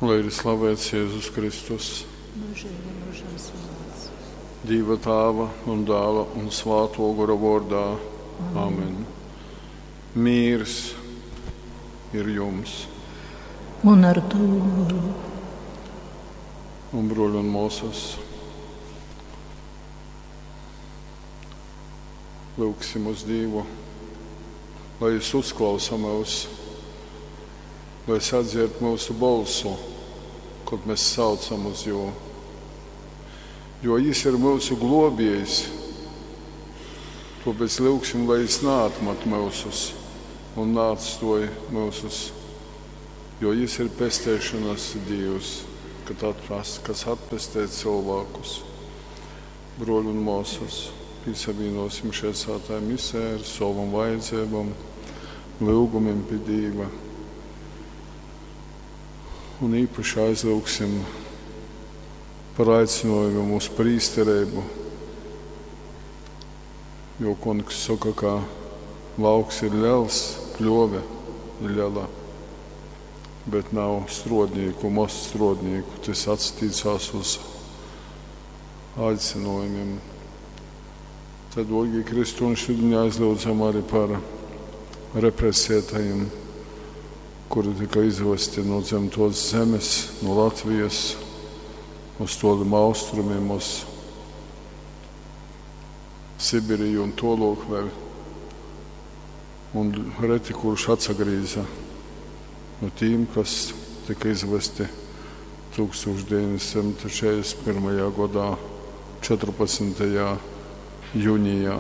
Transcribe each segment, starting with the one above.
Lai ir slavēts Jēzus Kristus. Mūžīgi mūžam slavēts. Dīva Tāva un Dāla un Svāto Gora vārdā. Amen. Mīrs ir jums. Un ar tavu goru. Un bruļi un māsas. Lūgsim uz Dievu, lai Jis uzklausa mūs, lai sadzird mūsu balsu, kad mēs saucam uz Jū. Jo Jis ir mūsu globējs, tāpēc lūgsim, lai Jis neatmet mūsus un neatstoj mūsus, jo Jis ir pestēšanas Dievs, kad atpas, kas atpestē cilvēkus. Broļi un māsas, piesavienosim šai svētai misē ar savam vajadzībām, lūgumiem pie Dieva. Un īpaši aizlūgsim par aicinājumu uz prīsterību, jo kungs saka, ka lauks ir liels, pļove ir liela, bet nav strodnieku, maz strodnieku. Tas attīcās uz aicinājumiem. Tad, Dārgie Kristu, un šodien aizlūdzam arī par represētajiem, kuri tika izvesti no dzimtos zemes, no Latvijas, uz toliem austrumiem, uz Sibiriju un tolok vēl. Un reti kurš atsagrīza no tīm, kas tika izvesti 1941. gadā, 14. jūnijā.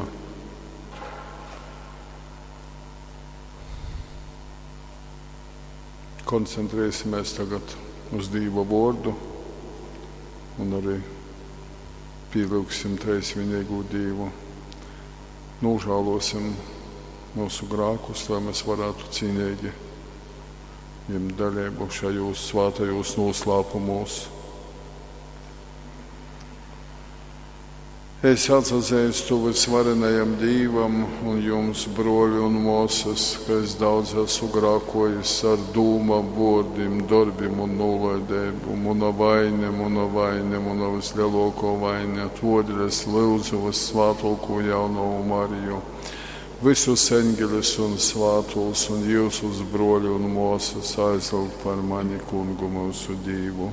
Koncentrēsimies tagad uz Dieva vārdu un arī pielūgsim treisvienīgo Dievu. Nožēlosim mūsu grēkus, lai mēs varētu cīnīgi ņemt dalību šajos svētajos noslēpumos. Es atzīstu visvarenajam Dievam un jums, broļi un māsas, ka es daudz esmu grēkojis ar dūmām, vārdiem, darbiem un nolaidību. Mana vaina, mana vaina, mana vislielāko vaina. Todēļ es lūdzu vissvētāko jauno Mariju, visus eņģeļus un svētos un jūsus broļi un māsas aizlūgt par mani kungu mūsu Dievu.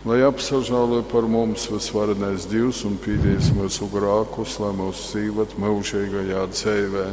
Lai apsažāloj par mums visvarenais Dievs un pīdīs mūsu grākus, lai mūs dzīvot mūžīgajā dzīvē.